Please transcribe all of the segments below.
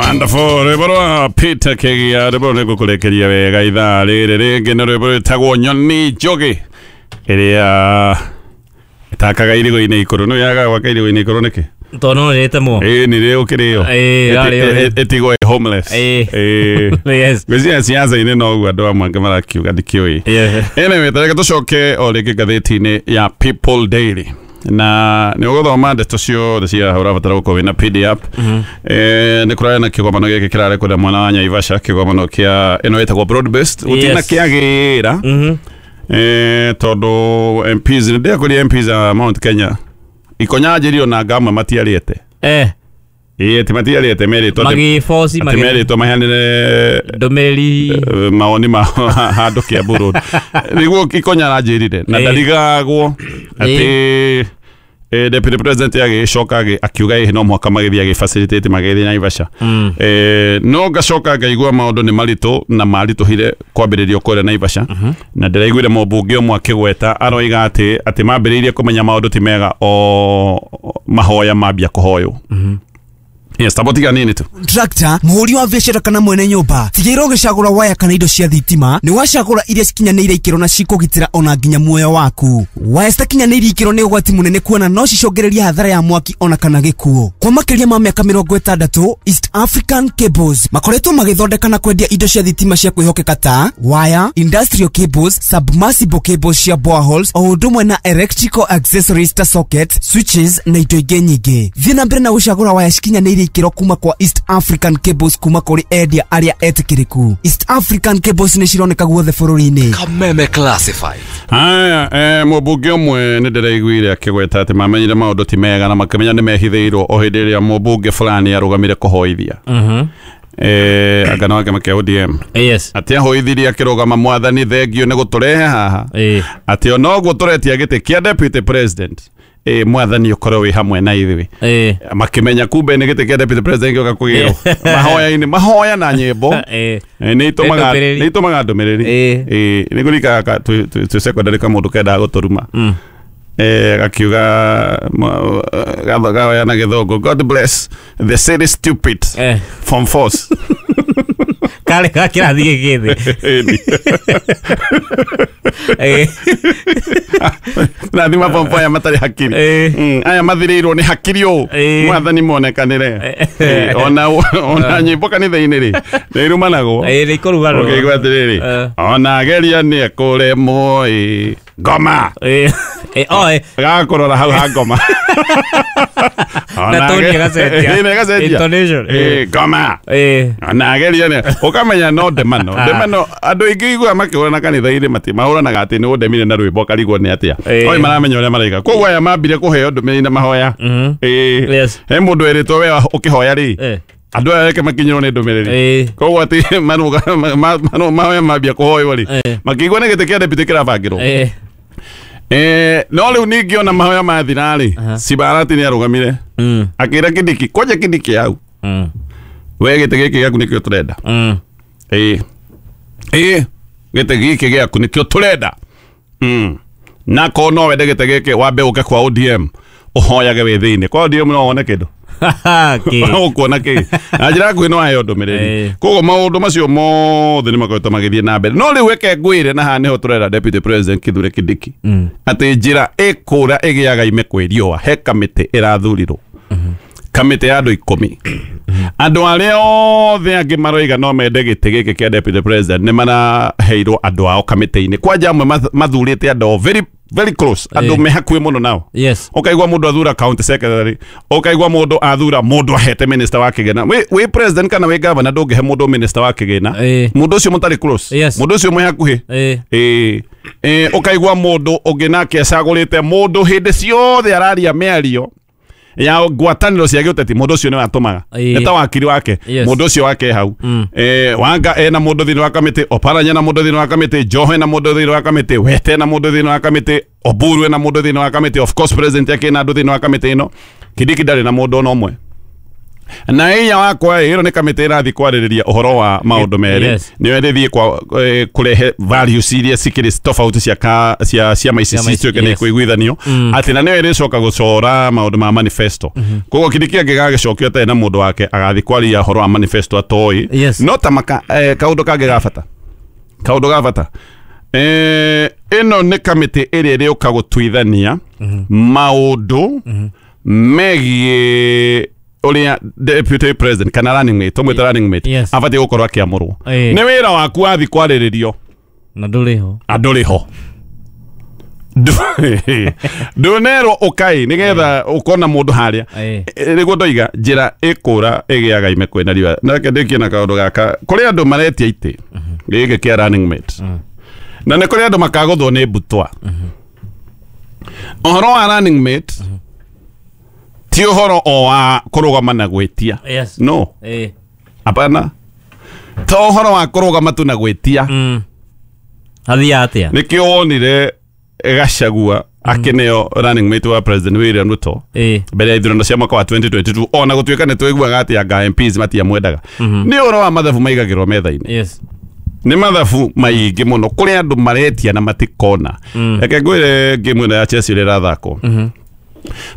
Wonderful. Rwĩmbo rwa Peter Kĩgia, rwĩmbo rũrũ nĩngũkũrĩkĩria wega ithaa rĩrĩ rĩngĩ nĩ rwĩmbo rwĩtagwo Nyoni Njũgĩ ĩrĩa ĩtakaga irigo-inĩ ikũrũ. Nĩ yagaga gwaka irigo-inĩ ikũrũ nĩkĩ? Tondũ no nĩrĩtemwo. Ĩĩ nĩ rĩ ũkĩrĩo. Ĩĩ, rarĩo rĩ. Ĩtigwo ĩ homeless. Ĩĩ. Ĩĩ. Yes. Ngwĩciria ciaca-inĩ noguo andũ amwe angĩ marakiuga ndikĩũĩ. Yeah. Anyway, tareke tũcoke o rĩngĩ ngathĩti-inĩ ya People Daily na nĩ ũgũthoma ndeto ciothe cia haha ũrabatara gũkorwo wĩna PDF. Nĩ kũrarĩ na kĩgomano gĩkĩ kĩrarĩ kũrĩa mwena wa Naivasha, kĩgomano kĩa ĩno ĩtagwo broad based gũtirĩ na Yes. kĩagĩra tondũ MPs nĩ ndĩakũria MPs a Mount Kenya ikonyanjĩrio na ngamwe matiarĩte. Ĩĩ ti matiarĩte merĩtwo atĩ Magĩboci atĩ merĩtwo maheanĩre ndũmĩrĩri. Mawoni ma handũ Kiambu Road nĩguo ikonya aranjĩrire na ndarigagwo atĩ deputy president agĩcoka akiuga ĩhĩ no mũhaka magĩthiĩ agĩfacilitate magĩthiĩ Naivasha. No ngacoka ngaigua maũndũ nĩ maritũ na maritũhire kwambĩrĩrio kũrĩa Naivasha na ndĩraiguire mũmbunge ũmwe akĩgweta aroiga atĩ mambĩrĩirie kũmenya maũndũ ti mega o mahoya mambia kũhoywo. Yes, tabotiga nini tu. Contractor, muhuri wa biacara kana mwene nyumba, tigĩrĩra ũgĩcagũra waya kana indo cia thitima nĩ wacagũra iria cikinyanĩire ikĩro na cikũgitĩra ona nginya muoyo waku. Waya citakinyanĩirie ikĩro nĩ ũgwati mũnene kuona no cicũngĩrĩrie hathara ya mwaki ona kana gĩkuũ. Kwa makĩria ma mĩaka 60, East African Cables makoretwo magĩthondeka na kwendia indo cia thitima cia kwĩhokeka ta waya, industrial cables, submersible cables cia boreholes o ũndũ ũmwe na electrical accessories ta socket, switches na indo ingĩ nyingĩ. Thiĩ na mbere na gũcagũra waya cikinyanĩirie ikĩro kuma kwa East African Cables kuma kũrĩ endia arĩa etĩkĩrĩku. East African Cables nĩ cironeka guothe bũrũri-inĩ. Kameme Classified. Haya, mũmbunge ũmwe nĩ ndĩraiguire akĩgweta atĩ mamenyire maũndũ ti mega na makĩmenya nĩ mehithĩirwo o hĩndĩ ĩrĩa mũmbunge fulani arũgamire kũhoithia. Anga no kĩama kĩa ODM. Yes. Atĩ ahoithirie akĩrũgama mwathani thengio nĩ gũtũrehe haha. Atĩ ona ũguo tũretia gĩtĩ kĩa deputy president. Mwathani ũkorwo wĩ hamwe na ithuĩ. Makĩmenya kumbe nĩ gĩtĩ kĩa deputy president gĩoka kũgĩrwo. Mahoya-inĩ, mahoya na nyĩmbo. Nĩ itũmaga Ndũmĩrĩri. nĩ itũmaga ndũmĩrĩri. Nĩ ngũririkana twĩ secondary kamũndũ kendaga gũtũruma. Gakiuga gahoya na gĩthũngũ, God bless the city stupid from force. Karĩ ga kĩrathi gĩkĩ thĩ. Ĩni. Rathima form four aya matarĩ hakiri. Aya mathirĩirwo nĩ hakiri ũũ. Mwathani monekanĩre. Ona nyĩmbo kanitha-inĩ rĩ nĩ irumanagwo. Nĩ ikũrumanwo. Ũkĩigua atĩrĩrĩ, ona ageria nĩ ekũremwo ĩ ngoma. Oh. Gakũrora hau ha ngoma. Na tone ĩgacenjia. Ĩ, ĩgacenjia. Intonation. Ngoma. Ona ageria nĩ ũkamenya no ndemano. Ndemano andũ aingĩ iguaga makĩhũrana kanitha-inĩ mati mahũranaga atĩ nĩ ũndemire na rwĩmbo karigwo nĩ atĩa. Oi maramenya ũrĩa maraiga. Koguo aya mambire kũheo ndũmĩrĩri na mahoya. Yes. He mũndũ erĩtwo we ũkĩhoya rĩ. Andũ aya reke makinyĩrwo nĩ ndũmĩrĩri. Koguo atĩ maruga mahoya mambia kũhoywo rĩ. Makĩigua nĩ gĩtĩ kĩa deputy kĩrabangĩrwo. No rĩu ningĩ ona mahoya mathira rĩ, Cibarati nĩ arũgamire. Akĩra Kindiki, kwanja Kindiki hau. We gĩtĩ gĩkĩ gĩaku nĩkĩo tũrenda. Gĩtĩ gĩkĩ gĩaku nĩkĩo tũrenda. Na ko no wende gĩtĩ gĩkĩ wambe ũke kwa ODM ũhoyage wĩ thĩinĩ. Kwa ODM no wone kĩndũ. Ũkuona kĩ? Na njĩra nguhĩ no aheo ndũmĩrĩri. Koguo maũndũ macio mothe nĩ makoretwo magĩthiĩ na mbere. No rĩu reke ngwĩre na haha nĩho tũrera Deputy President Kithure Kindiki. Atĩ njĩra ĩkũra ĩgĩaga ime kwĩ riũa he kamĩtĩ ĩrathurirwo. Kamĩtĩ ya andũ 10. Andũ arĩa othe angĩ maroiga no mende gĩtĩ gĩkĩ kĩa Deputy President nĩ maraheirwo andũ ao kamĩtĩ-inĩ. Kwanja amwe mathurĩte andũ ao very very close. Andũ me hakuhĩ mũno nao. Yes. Ũkaigua mũndũ athura county secretary, ũkaigua mũndũ athura mũndũ ahete minister wa kĩgĩna. Wĩ president kana wĩ governor ndũngĩhe mũndũ minister wa kĩgĩna. Mũndũ ũcio mũtarĩ close. Yes. Mũndũ ũcio mwĩ hakuhĩ. Ũkaigua mũndũ ũngĩ nake acagũrĩte mũndũ hĩndĩ ciothe araria mĩario ya ngwatanĩro cia gĩũteti mũndũ ũcio nĩwe atũmaga. Nĩ ta wakiri wake. Mũndũ ũcio wake hau. Wanga ena mũndũ thĩinĩ wa kamĩtĩ, Oparanya na mũndũ thĩinĩ wa kamĩtĩ, Joho ena mũndũ thĩinĩ wa kamĩtĩ, Wete ena mũndũ thĩinĩ wa kamĩtĩ, Oburu ena mũndũ thĩinĩ wa kamĩtĩ, of course president yake ena andũ thĩinĩ wa kamĩtĩ ĩno. Kindiki ndarĩ na mũndũ ona ũmwe. Na iya wakwa ĩno nĩ kamĩtĩ ĩrathiĩ kwarĩrĩria ũhoro wa maũndũ merĩ. Yes. Nĩyo ĩrĩthiĩ kwa kũrehe values iria cikĩrĩ tofauti cia cia ciama ici Ciama ici, cituĩke nĩ yes. kũiguithanio atĩ na nĩyo ĩrĩcoka gũcora maũndũ ma manifesto. Koguo Kindiki angĩgagĩcokio atarĩ na mũndũ wake agathiĩ kwaria ũhoro wa manifesto atoĩ. Yes. No ta kaũndũ kangĩ ga bata, kaũndũ ga bata, ĩno nĩ kamĩtĩ ĩrĩa ĩrĩũka gũtuithania maũndũ megiĩ ũrĩa deputy president kana running mate, tũmwĩte running mate, Yes. abatiĩ gũkorwo akĩamũrwo. Nĩ wĩra waku wathiĩ kwarĩrĩrio Na ndũrĩ ho. andũrĩ ho. Ndũnerwo ũkai nĩgetha ũkona mũndũ harĩa. Nĩguo ndoiga njĩra ĩkũra ĩgĩaga ime kwĩna riũa. Na reke ndĩkie na kaũndũ gaka, kũrĩ andũ maretia itĩ gĩkĩ kĩa running mate, na nĩ kũrĩ andũ makagũthwo nĩ mbutwa. Ũhoro wa running mate ti ũhoro o wa kũrũgama na gwĩtia. Yes. No, hapana, to ũhoro wa kũrũgama tu na gwĩtia. Hathiaga atĩa? Nĩkĩo wonire Gachagua akĩneo running mate wa President William Ruto mbere ya ithurano cia mwaka wa 2022, ona gũtuĩka nĩ tũiguaga atĩ anga MPs matiamwendaga. Nĩ ũhoro wa mathabu maigagĩrwo metha-inĩ. Yes. Nĩ mathabu maingĩ mũno kũrĩ andũ maretia na matikona. Reke ngwĩre game ĩno ya Chelsea ũrĩa ĩrathakwo.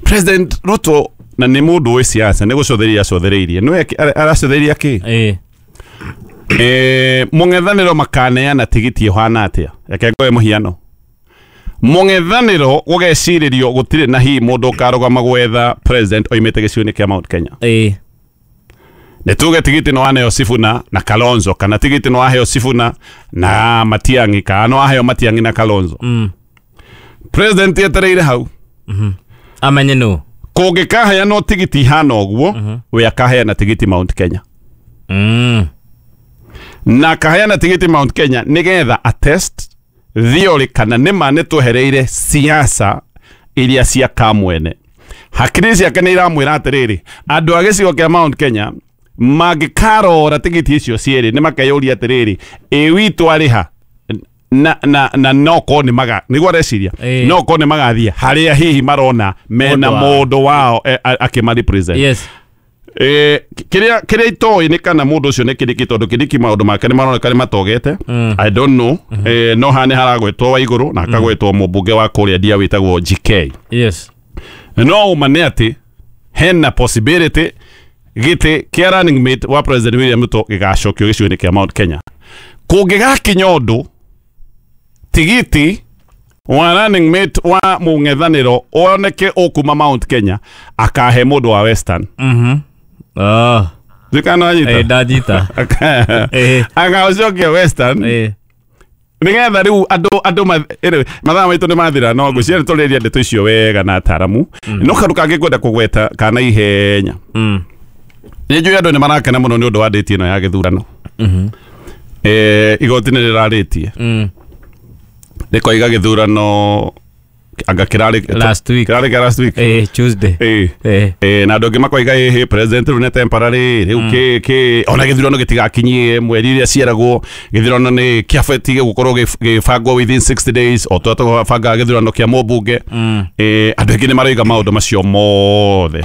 President Ruto na nĩ mũndũ wĩ siasa, nĩ gũcotheria acothereirie, nĩwe aracotheria kĩ? Mũng'ethanĩro makaneana tigiti ĩhana atĩa? Reke ngoe mũhiano. Mũng'ethanĩro gũgecirĩrio gũtirĩ na hihi mũndũ ũkarũgama gwetha president oimĩte gĩcigo-inĩ kĩa Mount Kenya. Nĩ tuge tigiti no waneo Sifuna na Kalonzo, kana tigiti no waheo Sifuna na Matiang'i, kana no waheo Matiang'i na Kalonzo. President etereire hau Amenye nũ. Kũngĩkaheanwo tigiti ihana ũguo, we akaheana tigiti Mount Kenya. Na akaheana tigiti Mount Kenya nĩgetha attest theory kana nĩma nĩ twehereire siasa iria cia kamwene. Hakiri ciake nĩ iramwĩra atĩrĩrĩ, andũ a gĩcigo kĩa Mount Kenya mangĩkarora tigiti icio cierĩ nĩ makeyũria atĩrĩrĩ, ĩ witũ arĩha na no korwo nĩ maga nĩguo areciria, no korwo nĩ magathiĩ harĩa hihi marona mena mũndũ wao akĩma represent. Yes. Kĩrĩa itoĩ nĩ kana mũndũ ũcio nĩ Kindiki, tondũ Kindiki maũndũ make nĩ maroneka nĩ matogete. I don't know. No haha nĩ haragwetwo Waigũrũ na akagwetwo mũmbunge wa kũrĩa Ndia wĩtagwo GK. Yes. No ũma nĩ atĩ hena possibility gĩtĩ kĩa running mate wa President William Ruto gĩgacokio gĩcigo-inĩ kĩa Mount Kenya. Kũngĩgakinya ũndũ tigiti wa running mate wa mũng'ethanĩro oneke ũkuma Mount Kenya, akahe mũndũ wa Western. Ndikana wanyita? Ndanyita. Agacokia Western. Nĩgetha rĩu andũ mathaa maitũ nĩ mathira, no ngwĩciria nĩ tũrĩria ndeto icio wega na ataramu. No kaũndũ kangĩ ngwenda kũgweta kana ihenya. Nĩ njũĩ andũ nĩ marakena mũno nĩ ũndũ wa date ĩno ya gĩthurano. Igoti nĩ rĩrarĩtie. Rĩkoiga gĩthurano anga kĩrarĩ last week. Kĩrarĩ last week. Tuesday. Na andũ angĩ makoiga ĩhĩ president rĩu nĩ temporary rĩu kĩ ona gĩthurano gĩtigakinyie mweri iria cieragwo, gĩthurano nĩ kĩabatiĩ gũkorwo gĩbangwo within 60 days o ta tũbangaga gĩthurano kĩa mũmbunge. Andũ aingĩ nĩ maroiga maũndũ macio mothe.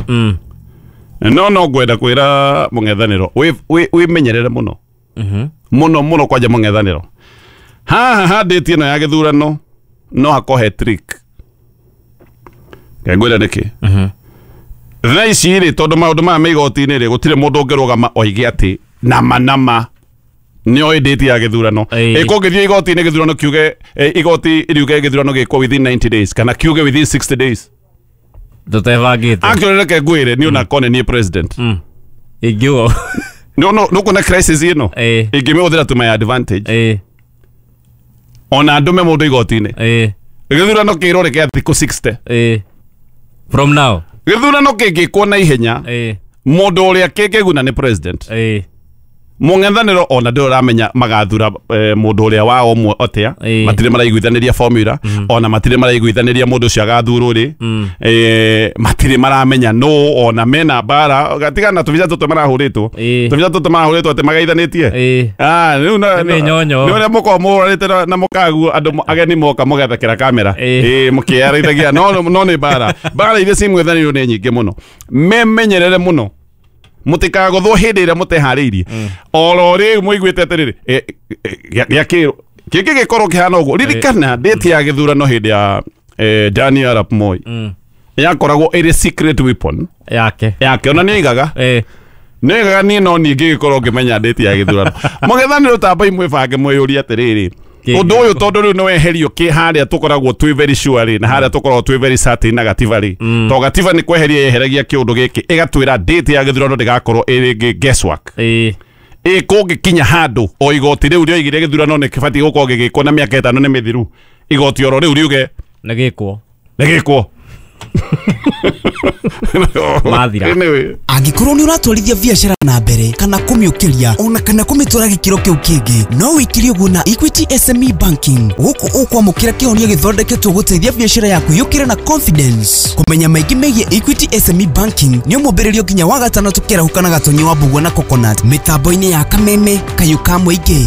No ngwenda kwĩra mũng'ethanĩro wĩmenyerere mũno. Mũno mũno kwanja mũng'ethanĩro. Haha handĩtie ĩno ya gĩthurano no hakohe trick. Ngwĩra nĩkĩ? Thaa ici rĩ, tondũ maũndũ maya me igoti-inĩ rĩ, gũtirĩ mũndũ ũngĩrũgama oige atĩ nama nama nĩoĩ date ya gĩthurano. Ĩkũngĩthiĩ igoti-inĩ gĩthurano kiuge, igoti riuge gĩthurano gĩkwo within 90 days kana kiuge within 60 days. Tũtebangĩte. Actually reke ngwĩre niĩ ona korwo nĩ niĩ president. Ingiuga. No nũkuona crisis ĩno ĩngĩmĩhũthĩra to my advantage. Ona ndũme mũndũ igoti-inĩ. Gĩthurano kĩrore kĩa thikũ 60. From now. Gĩthurano kĩngĩkwo na ihenya, mũndũ ũrĩa kĩngĩguna nĩ president. Mũng'ethanĩro ona ndũrĩ ũramenya magathura mũndũ ũrĩa wao ũmwe atĩa, matirĩ maraiguithanĩria formula, ona matirĩ maraiguithanĩria mũndũ ũcio agathurwo rĩ, matirĩ maramenya nũ, ona mena mbara gatigana tũbica tũtũ marahũrĩtwo, tũbica tũtũ marahũrĩtwo atĩ magaithanĩtie. Rĩu nĩ ũrĩa mũkoragwo mũhũranĩte na mũkaguo andũ ageni moka mũgethekera kamera, mũkĩaraithagia, no nĩ mbara. Mbara iria ciĩ mũng'ethanĩro nĩ nyingĩ mũno. Memenyerere mũno. Mũtikagothwo hĩndĩ ĩrĩa mũteharĩirie. Oro rĩu mũiguĩte atĩrĩrĩ, gĩakĩrwo kĩngĩ gĩkorwo kĩhana ũguo. Ririkana date ya gĩthurano hĩndĩ ya Daniel Arap Moi yakoragwo ĩrĩ secret weapon yake. Ona nĩaigaga nĩaigaga niĩ no niĩ ngĩgĩkorwo ngĩmenya date ya gĩthurano. Mũng'ethanĩro tambai mwĩbange mwĩyũrie atĩrĩrĩ, ũndũ ũyũ tondũ rĩu nĩweherio kĩ harĩa tũkoragwo twĩ very sure rĩ, na harĩa tũkoragwo twĩ very certain na gatiba rĩ, to gatiba nĩ kweheria yeheragia kĩũndũ gĩkĩ ĩgatwĩra date ya gĩthurano ndĩgakorwo ĩrĩ guesswork. Kũngĩkinya handũ o igoti rĩu rĩoigire gĩthurano nĩ kĩbatiĩ gũkorwo gĩgĩkwo na mĩaka 5 nĩ mĩthiru, igoti oro rĩu riuge nĩ gĩkwo. Nĩ gĩkwo. Mathira. Anyway. Angĩkorwo nĩ ũratwarithia biacara na mbere kana kũmĩũkĩria ona kana kũmĩtwara gĩkĩro kĩu kĩngĩ, no wĩkire ũguo na Equity SME Banking. Gũkũ ũkwamũkĩra kĩhonia gĩthondeketwo gũteithia biacara yaku yũkĩre na confidence. Kũmenya maingĩ megiĩ Equity SME Banking nĩ ũmũmbĩrĩrio nginya wa gatano tũkĩarahũka na Gatonyi wa Mbugua na Coconut mĩtambo-inĩ ya Kameme Kayũ ka Mũingĩ.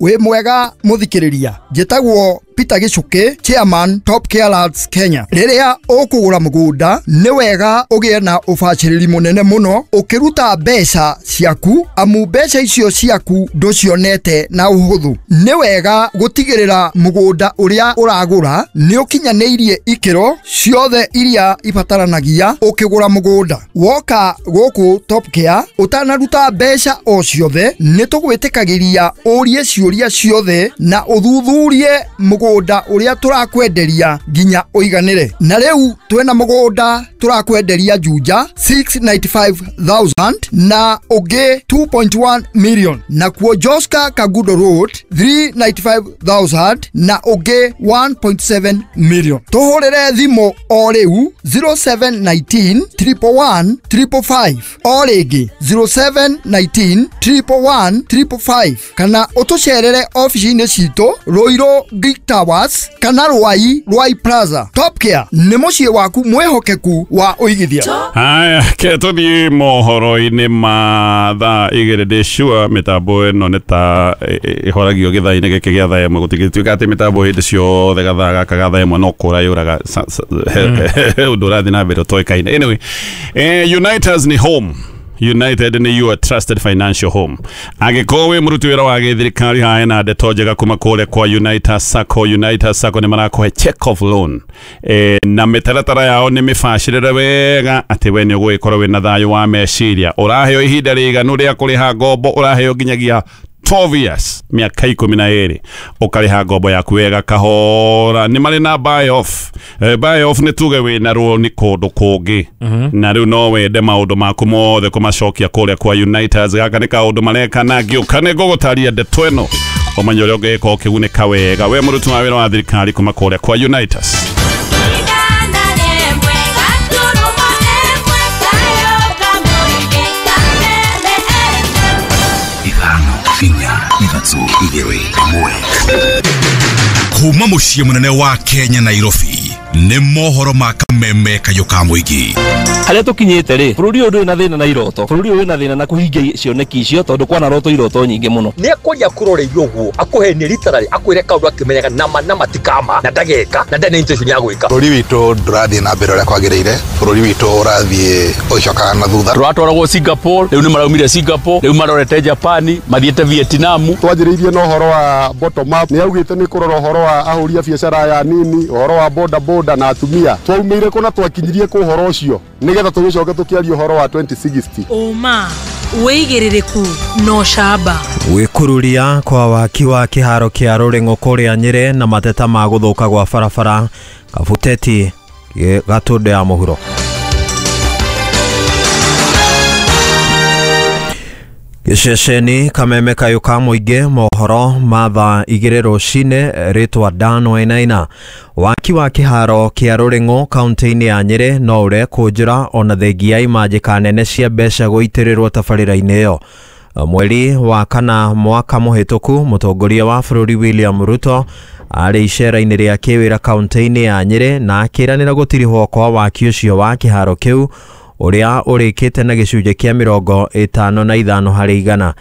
Wĩ mwega mũthikĩrĩria, njĩtagwo Peter Gichuki, chairman Top Care Lands Kenya. Rĩrĩa ũkũgũra mũgũnda nĩ wega ũgĩe na ũbacĩrĩri mũnene mũno ũkĩruta mbeca ciaku, amu mbeca icio ciaku ndũcionete na ũhũthũ. Nĩ wega gũtigĩrĩra mũgũnda ũrĩa ũragũra nĩ ũkinyanĩirie ikĩro ciothe iria ibataranagia ũkĩgũra mũgũnda. Woka gũkũ Top Care ũtanaruta mbeca o ciothe, nĩ tũgwĩtĩkagĩria ũrie ciũria ciothe na ũthuthurie mũgũnda ũrĩa tũrakwenderia nginya ũiganĩre. Na rĩu twĩna mũgũnda tũrakwenderia Juja 695,000 na ũngĩ 2.1 million, na kuo Joska Kagudo Road 395,000 na ũngĩ 1.7 million. Tũhũrĩre thimũ o rĩu 0719 111 555, o rĩngĩ 0719 111 555, kana ũtũcerere ofici-inĩ citũ Ruiru Greek Towers kana Ruai Ruai Plaza. Top Care nĩ mũciĩ waku mwĩhokeku wa ũigithia. Haya, ke tũthiĩ mohoro-inĩ ma thaa 2 ndĩ sure mĩtambo ĩno nĩ ta ĩhoragio gĩthaa-inĩ gĩkĩ gĩa thaa 1, gũtingĩtuĩka atĩ mĩtambo hĩndĩ ciothe gathaa gaka ga thaa 1 no kũra yũraga ũndũ ũrathiĩ na mbere ũtoĩkaine. Anyway, Uniters ni home. United ni your trusted financial home. Angĩkorwo wĩ mũruti wĩra wa gĩthirikari, hae na ndeto njega kuma kũrĩa kwa United Sacco. United Sacco nĩ marakũhe check off loan, na mĩtaratara yao nĩ mĩbacĩrĩre wega atĩ we nĩ ũgũgĩkorwo wĩna thayũ wa meciria. Ũraheo ihinda rĩiganu rĩa kũrĩha ngombo, ũraheo nginyagia 12 years, mĩaka 12, ũkarĩha ngombo yaku wega kahora. Nĩ marĩ na buy off. Buy off nĩ tuge wĩna rũni kũndũ kũngĩ, na rĩu no wende maũndũ maku mothe kũmacokia kũrĩa kwa Uniters. Gaka nĩ kaũndũ mareka na ngĩũka nĩ ngũgũtaria ndeto ĩno ũmenye ũrĩa ũngĩgĩkorwo ũkĩgunĩka wega we mũruti wa wĩra wa thirikari kuma kũrĩa kwa Uniters. Kuma mũciĩ mũnene wa Kenya Nairobi nĩ mohoro ma Kameme Kayũ ka Mũingĩ. Harĩa tũkinyĩte rĩ, bũrũri ũyũ ndũrĩ na thĩna na iroto, bũrũri ũyũ wĩna thĩna na kũhingia cioneki icio, tondũ kwana roto iroto nyingĩ mũno. Nĩ akwaria akũroreirie ũguo, akũhenie literally, akwĩre kaũndũ akĩmenyaga nama na matikama na ndageka na ndarĩ na intention ya gwĩka. Bũrũri witũ ndũrathiĩ na mbere ũrĩa kwagĩrĩire, bũrũri witũ ũrathiĩ ũgĩcokaga na thutha. Tũratwaragwo Singapore, rĩu nĩ maraumire Singapore, rĩu marorete Japan, mathiĩte Vietnam. Twanjĩrĩirie na ũhoro wa bottom up, nĩ augĩte nĩ kũrora ũhoro wa ahũri a biacara aya nini, ũhoro wa boda boda na atumia. Twaumĩire kũ na twakinyirie kũ ũhoro ũcio nĩgetha tũgĩcoke tũkĩaria ũhoro wa 2060. Ũma wĩigĩrĩrĩku no camba. Gwĩkururia kwa waki wa kĩharo kĩa Rũrĩng'o kũrĩa Nyĩrĩ na mateta ma gũthũka gwa barabara Kabuteti Gatũndũ ya mũhuro. Gĩceceni Kameme Kayũ ka Mũingĩ, mohoro ma thaa 2 rũcinĩ. Rĩtwa Dan Wainaina. Waki wa kĩharo kĩa Rũrĩng'o kaunti-inĩ ya Nyĩrĩ no ũrekũnjĩra ona thengia imanjĩka nene cia mbeca gũitĩrĩrwo tabarĩra-inĩ ĩyo. Mweri wa kana mwaka mũhĩtũku, mũtongoria wa bũrũri William Ruto arĩ icera-inĩ rĩa kĩwĩra kaunti-inĩ ya Nyĩrĩ na akĩranĩra gũtirihwo kwa waki ũcio wa kĩharo kĩu ũrĩa ũrĩkĩte na gĩcunjĩ kĩa 55 harĩ igana.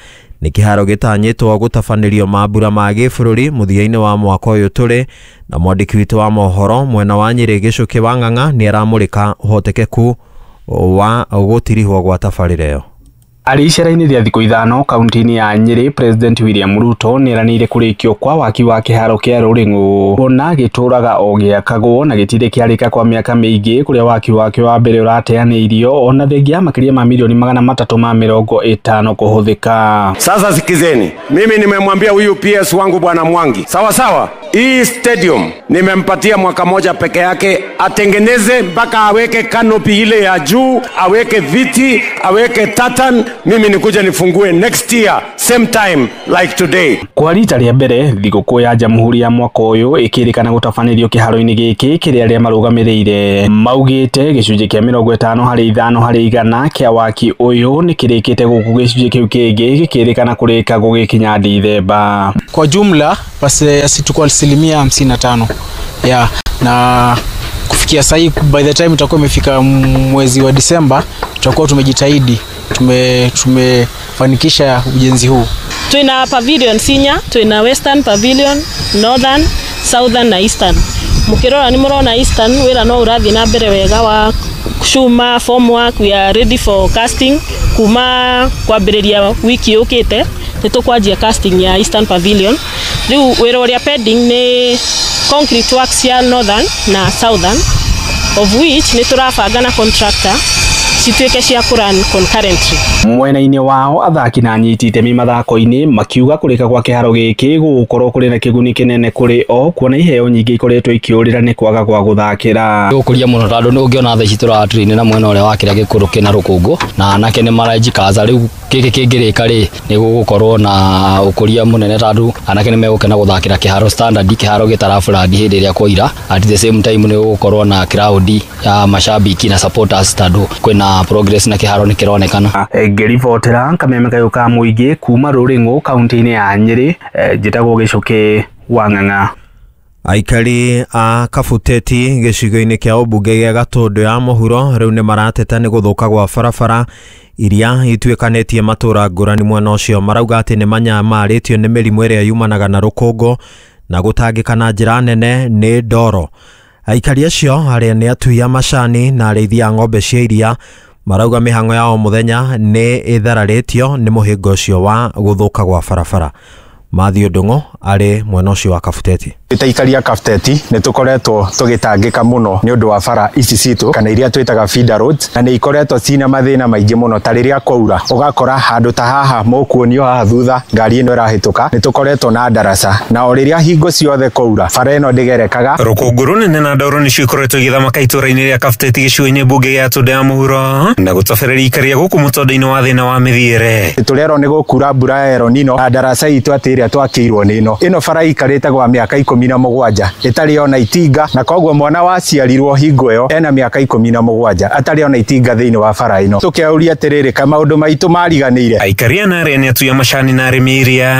Nĩ kĩharo gĩtanyĩtwo gũtabanĩrio mambura ma gĩbũrũri mũthia-inĩ wa mwaka ũyũ tũrĩ, na mwandĩki witũ wa mohoro mwena wa Nyĩrĩ Gĩcũkĩ wa Ng'ang'a nĩ aramũrĩka ũhotekeku wa gũtirihwo gwa tabarĩra ĩyo. Arĩ icera-inĩ rĩa thikũ 5 kaunti-inĩ ya Nyĩrĩ, President William Ruto nĩeranĩire kũrĩkio kwa waki wa kĩharo kĩa Rũrĩng'ũ ona gĩtũraga o gĩakagwo na gĩtirĩ kĩarĩka kwa mĩaka mĩingĩ, kũrĩa waki wakĩo wa mbere ũrateanĩirio ona thengia ya makĩria ma milioni 350 kũhũthĩka. Sasa sikizeni, mimi nimemwambia huyu PS wangu Bwana Mwangi, sawa sawa, hii stadium nimempatia mwaka moja peke yake atengeneze mpaka aweke canopy ile ya juu, aweke viti, aweke tartan. Mimi nikuja nifungue next year same time like today. Kwa rita rĩa mbere thigũkũ ya Jamhuri ya mwaka ũyũ ĩkĩrĩkana gũtabanĩrio kĩharo-inĩ gĩkĩ kĩrĩa arĩa marũgamĩrĩire maugĩte gĩcunjĩ kĩa 55 harĩ 100 kĩa waki ũyũ nĩ kĩrĩkĩte gũkũ gĩcunjĩ kĩu kĩngĩ gĩkĩrĩkana kũrĩka gũgĩkinya Dithemba. Kwa jumla basi tuko 55% ya na kufikia sasa, by the time tutakuwa imefika mwezi wa Disemba tutakuwa tumejitahidi tumefanikisha ujenzi huu. Twina pavilion sinya, twina Western Pavilion, Northern, Southern na Eastern. Mukirora ni murona Eastern wira no urathi na mbere wega wa cuma formwork, we are ready for casting kuma kwambiriria wiki yukite ni tukwanjia casting ya Eastern Pavilion. Riu wira uria pending ni concrete works ya Northern na Southern, of which ni turabanga na contractor cituike cia kũrun concurrently. Mwena-inĩ wao athaki na anyiti itemi mathako-inĩ makiuga kũrĩka kwa kĩharo gĩkĩ gũgũkorwo kũrĩ na kĩguni kĩnene kũrĩ o kuona iheo nyingĩ ikoretwo ikĩũrĩra nĩ kwaga gwa gũthakĩra. Gũkũria mũno tondũ nĩ ũngĩona thaa ici tũratrain na mwena ũrĩa wa kĩrĩa gĩkũrũ kĩna rũkũngũ na anake nĩ marajikaza. Rĩu gĩkĩ kĩngĩrĩka rĩ nĩ gũgũkorwo na ũkũria mũnene tondũ anake nĩ megũkena gũthakĩra kĩharo standard, kĩharo gĩtaraburandi hĩndĩ ĩrĩa kwaira. At the same time nĩ gũgũkorwo na crowd ya mashabiki na supporters tondũ kwĩna progress na kĩharo nĩ kĩronekana. Ngĩribotera kameme kayũ ka mũingĩ kuma Rũrĩng'ũ kaunti-inĩ ya Nyĩrĩ, njĩtagwo Gĩcũkĩ wa Ng'ang'a. Aikari a Kabuteti gĩcigo-inĩ kĩa ũmbunge gĩa Gatũndũ ya mũhuro rĩu nĩ marateta nĩ gũthũka gwa barabara iria ituĩkanĩtie matũra ngũrani mwena ũcio. Marauga atĩ nĩ manyamarĩtio nĩ mĩrimũ ĩrĩa yumanaga na rũkũngũ na gũtangĩka na njĩra nene nĩ ndoro. Aikari acio arĩa nĩ atui a macani na arĩithi a ng'ombe cia iria marauga mĩhang'o ya o mũthenya nĩ ĩthararĩtio nĩ mũhĩnga ũcio wa gũthũka gwa barabara. Matthew Ndung'u arĩ mwena ũcio wa Kabuteti. Taikaria Kabuteti nĩ tũkoretwo tũgĩtangĩka mũno nĩ ũndũ wa bara ici citũ kana iria twĩtaga feeder roads, na nĩ ikoretwo cina mathĩna maingĩ mũno. Ta rĩrĩa kwaura ũgakora handũ ta haha mũkuonio haha thutha ngari ĩno ĩrahĩtũka, nĩ tũkoretwo na ndaraca, na o rĩrĩa hingo ciothe kwaura bara ĩno ndĩgerekaga. Rũkũngũ rũnene na ndoro nĩcio ikoretwo igĩthamaka itũra-inĩ rĩa Kabuteti gĩcigo-inĩ mbunge gĩa Gatũndũ ya mũhuro na gũtobereria ikaria gũkũ mũtondo-inĩ wa thĩna wa mĩthiĩre. Tũrerwo nĩ gũkura mbura ya El Nino na ndaraca itũ atĩ ĩrĩa twakĩirwo nĩ ĩno ĩno bara ikarĩte gwa mĩaka 17 ĩtarĩ ona itinga, na koguo mwana waciarirwo hingo ĩyo ena mĩaka 17 atarĩ ona itinga thĩinĩ wa bara ĩno. Tũkeuria atĩrĩrĩ, ka maũndũ maitũ mariganĩire. Aikaria na arĩa nĩ atui a macani na arĩmi iria